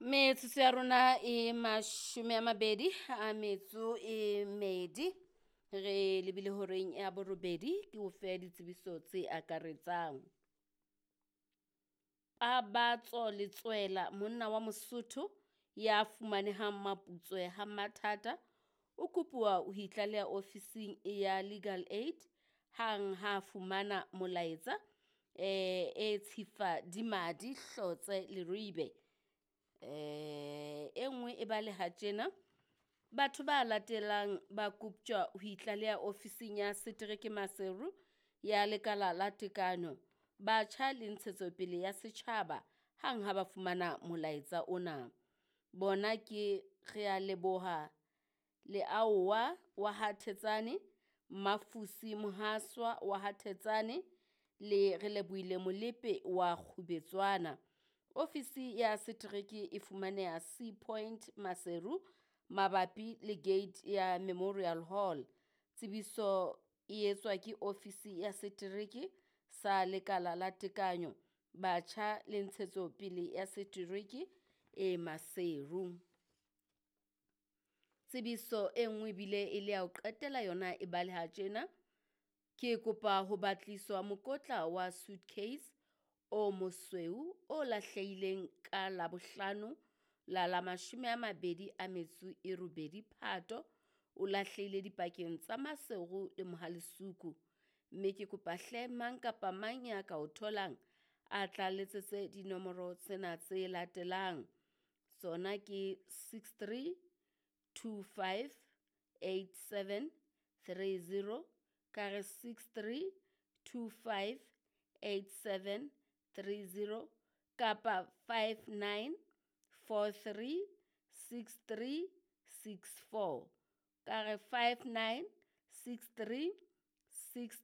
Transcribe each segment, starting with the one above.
Metsotso ya rona e 24 re lebile horeng ya borobedi, ke o fe ditsebiso tse akaretsang. Pabatso Letswela, monna wa Mosotho ya fumanehang Maputswe ha Mathata, o kopuwa ho itlaleha ofising ya Legal Aid hang ha fumana molaetsa e tshifa di madi hlotse Leribe. E nngwe e baleha tjena, batho ba latelang ba koptjwa ho itlaleha ofising ya setereke Maseru ya Lekala la Tekano, Batjha le Ntshetsopele ya Setjhaba hang ha ba fumana molaetsa ona. Bona ke Realeboha Leaowa wa ha Thetsane, Mafusi Mohaswa wa ha Thetsane le Relebohile Molepe wa Kgubetswana. Ofisi ya setereke e fumaneha Sea Point Maseru mabapi le gate ya Memorial Hall. Tsebiso e etswa ke ofisi ya setereke sa Lekala la Tekanyo, Batjha le Ntshetsopele ya Setereke e Maseru. Tsebiso e nngwe ebile e le ya ho qetela yona e baleha tjena, ke kopa ho batliswa mokotla wa suitcase o mosweu o lahlehileng ka Labohlano la la 28 Phato, o lahlehile dipakeng tsa Maseru le Mohalesuku. Mme ke kopa hle mang kapa mang ya ka o tholang a tla letsetse dinomoro tsena tse latelang. Tsona ke 63 25 87 30, ka re 63 25 87 30 kapa 59 43 63 64, ka re 59 63 6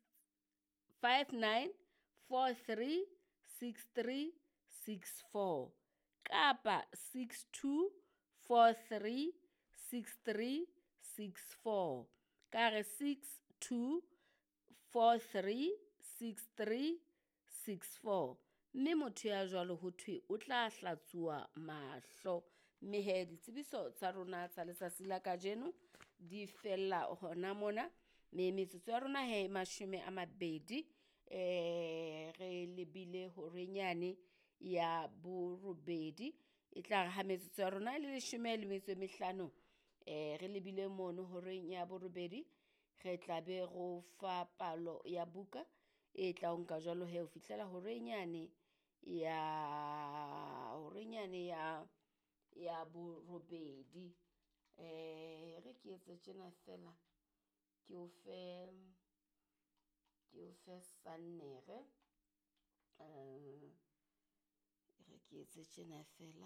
59 43 63 64 kapa 62 43 63 64, ka re 62 43 63 64. Mme motho ya jwalo ho thwe o tla hlatsuwa mahlo. Mme he ditsebiso tsa rona tsa letsatsi la kajeno di fella hona mona. Mme metsotso ya rona he e 20 re lebile horeng yane ya borobedi. E tla re ha metsotso ya rona e le 15 re lebile mono horeng ya borobedi, re tla be ro fa palo ya buka e tla o nka jwalo he ho fihlela horeng yane ya ya borobedi. Re ke etse tjena fela, ke o fe sannere, re ke etse tjena fela.